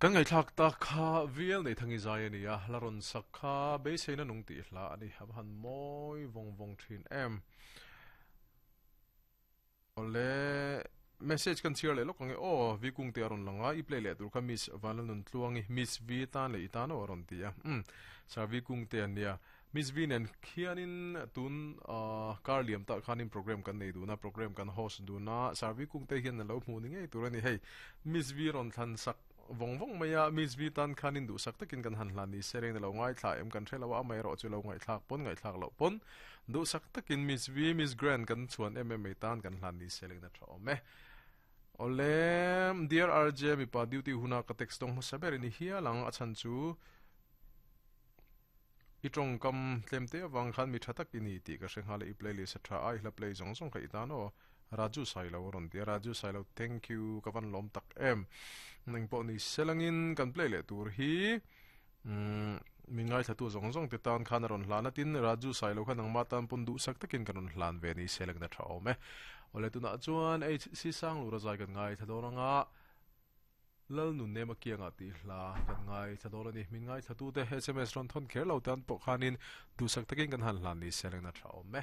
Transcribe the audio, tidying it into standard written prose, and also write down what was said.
Kan ngaihthlak tak kha vial nei thangi zai a ni a, la rawn sak kha beiseina nung tih hla a ni. A va han mawi vawng vawng thin em. Awle, message kan chhiar leh lawk ang e aw, V Kungte a rawn lang a, i play leh tur kha Miss Vanlalnuntluangi, Miss V tan leh i tan aw a rawn ti a. Umm, Sir V Kungte a nia. Miss V nen khianin tun kar liam tah khanin program kan nei dun a, program kan host dun a, Sir V Kungte hian a lo hmuh ni ngei tur a ni. Hei, Miss V rawn thlan sak vawng vawng mai a, Miss V tan khanin duhsak takin kan han hlan ni se reng a lo ngaithla em kan hre lo a, amaherawh chu lo ngaihthlak pawn ngaihthlak loh pawn duhsak takin Miss V, Miss Grand kan chhuan em em mai tan kan hlan ni se reng a tha awm e. Awle, Dear RJ, mipa duty huna ka text dawng hmasa ber i ni hial ang, a chhan chu i tawngkam tlem te avang khan mi tha tak i ni tih ka hre nghal a, i playlist a tha a, i hla play zawng zawng kha i tan aw. Raju Sailo a rawn ti a, Raju Sailo thank you ka van lawm tak em. Eng pawh ni selangin kan play leh tur hi umm min ngaithlatu zawng zawng te tan khan a rawn hlan a, tin Raju Sailo kha nangmah tan pawn duhsak takin kan rawn hlan ve ni selangin a tha awm e. Awle tunah chuan HC Sanglura zai kan ngaithla dawn anga Lalnun Nema kiangah tih hla kan ngaithla dawn a ni. Min ngaithlatute sms rawn thawn kher lo tan pawh khanin duhsak takin kan han hlan ni selangin a tha awm e.